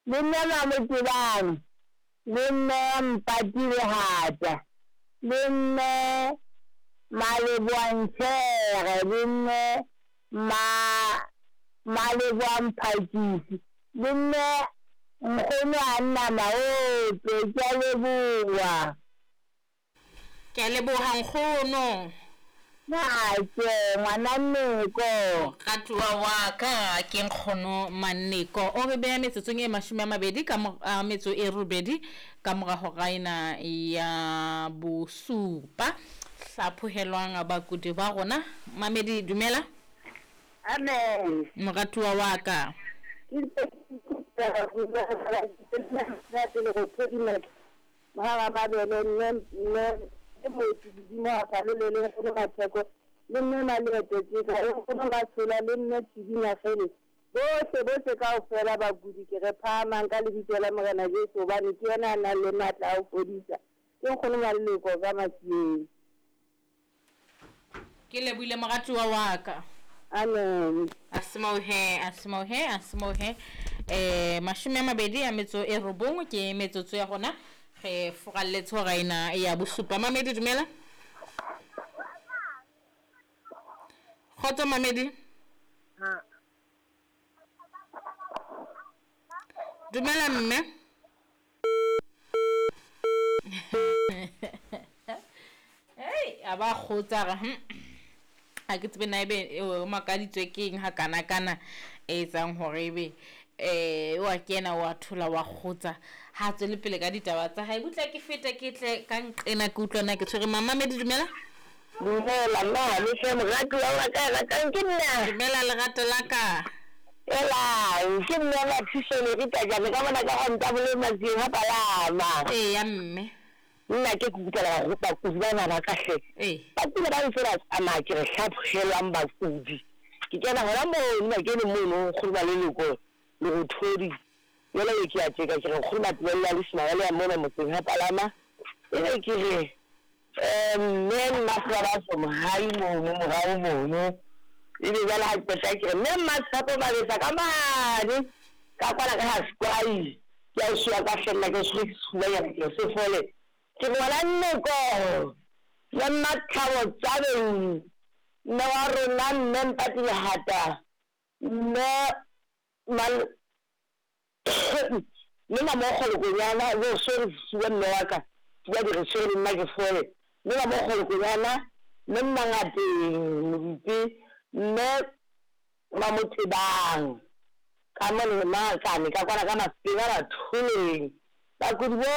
Le mme Mamotebang, le mme Mpati Lehata, le mme Maleboa Nchere, le mme Maleboa Mphakisi, le mme Nkgono Anna Maope. Ke a leboha. Ke a leboha nkgono. Nake ngwana Nneko. Moratuwa wa ka ke nkgono Manneko. O re beha metsotsong e 20 ka metso e robedi ka mora hora ena ya bosupa. Hlaphohelwang bakudi ba rona. Mamedi dumela. Amen. Moratuwa wa ka. Mohaga Mabele, mme mme le Moeti Didimo a Phalole le Nkgono Matheko le mme Maleeto Teka le Nkgono Matshola le mme Thibi Nyagele bohle bohle kaofela bakudi ke re phahamang ka lebitso la Morena Jesu hobane ke yena a nang le matla a ho fodisa. Ke Nkgono Maleloko ka Matsieng. Ke lebohile moratuwa wa ka. Amen. Asimohe, asimohe, asimohe. 29 ke metsotso ya rona. Re furalletse hora ena ya bosupa. Mamedi dumela. Kgotso Mamedi. Dumela mme. Hey, a ba kgotsa re ha ke tsebe na ebe o makaditswe ke eng ha kana kana e etsang hore ebe wa kena wa thola wa kgotsa ha tswele pele ka ditaba tsa hae. Butla ke fete ke tle ka nqena ke utlwa na ke tshwere. Mamamedi dumela. Dumela mma, le hle moratuwa wa ka ratang ke nna. Dumela lerato la ka. Elang, ke mme Mathiso le Rita Jane ka mona ka Rantabole Matsieng ha Palama. Eya mme. Nna ke kutlwela bakudi bana ba ka hle. Bakudi ba ntse ba tsamaya ke re hlaphohelwang bakudi. Ke kena hona mono nna ke le mono nkgono Maleloko Lerothodi. Jwale e ke a tjeka ke re nkgono Matebello a Lesima ya mona motseng ha Palama. Ebe ke re mme Mmasebabatso Mohai mono morao mono. Ebe jwale ha qeta ke re mme Mmatshepo Mabetsa ka mane ka kwana ka ha Skwai. Ke a usiwa ka hle nna ke tshwere ke sefubanyana ke re se fole. Ke ngwana Nneko le Mmathabo Tsabeng, mme wa rona mme Mpati Lehata, mme mme Mamokgo Lekonyana, jo sorry sefuba mme wa ka, sefuba di re tshwere le nna ke fole. Mme Mamokgo Lekonyana, mme Mmangateng Modite, mme Mamotebang ka mone Mangakane ka kwana ka Mafeng a Batholeng. Bakudi bohle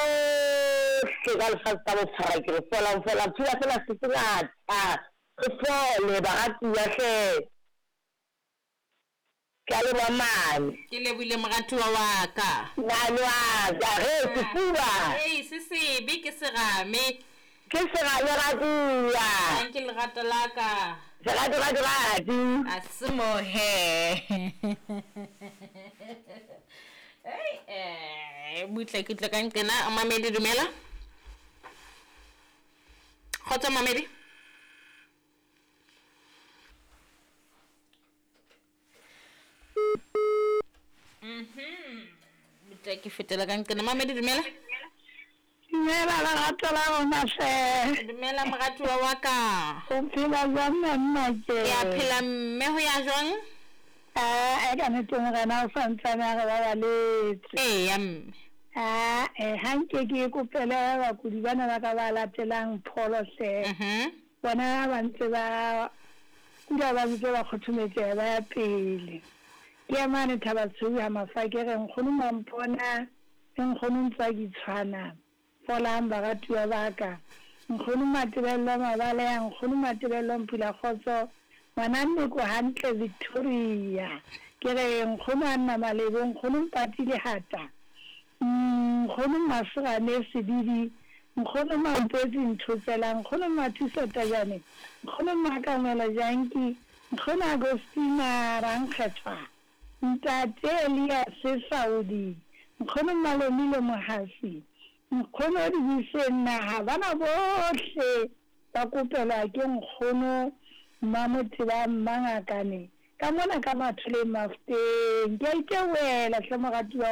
ka lefatshe ka bophara ke re folang folang phela fela se sengata re fole baratuwa hle. Ke a leboha mane. Ke lebohile moratuwa wa ka. Ngane wa ka re sefuba. Ei se sebe ke serame. Ke serame ratuwa. Ke lerato la ka. Serato rato ratu. Asimohe. Hey, butle ke tle ka nqena. Mamedi dumela. Kgotso Mamedi. Butle ke fetela ka nqena. Mamedi dumela. Dumela lerato la rona hle. Dumela moratuwa wa ka. O phela jwang monna ke? Ke a phela mme ho ya jwang? E ka nnete morena o santsane a re babaletse. Eya mme. Ha nke ke kopele bakudi bana ba ka ba latelang pholo hle. Bona ba ntse ba kula ba ntse ba kgothometseha ba ya pele. Ke ya mane Thabatshweu ha Mafa ke re nkgono Mampona le nkgono Ntswaki tshwana. Folang baratuwa ba ka. Nkgono Matebello Mabaleha, nkgono Matebello Mpula Kgotso, ngwana Nneko hantle Victoria. Ke re nkgono Anna Malebo, nkgono Mpati Lehata, nkgono Maserane Sedidi, nkgono Mampetsi Nthotsela, nkgono Mathuso Tajane, nkgono Makamela Janki, nkgono Agostina Rankgethwa, ntate Elias Saudi, nkgono Malomile Mohasi, nkgono Dibiseng naha bana bohle ba kopelwa ke nkgono Mmamoteba Mmangakane ka mona ka Matholeng Mafuteng. Ke a itebohela hle moratuwa wa.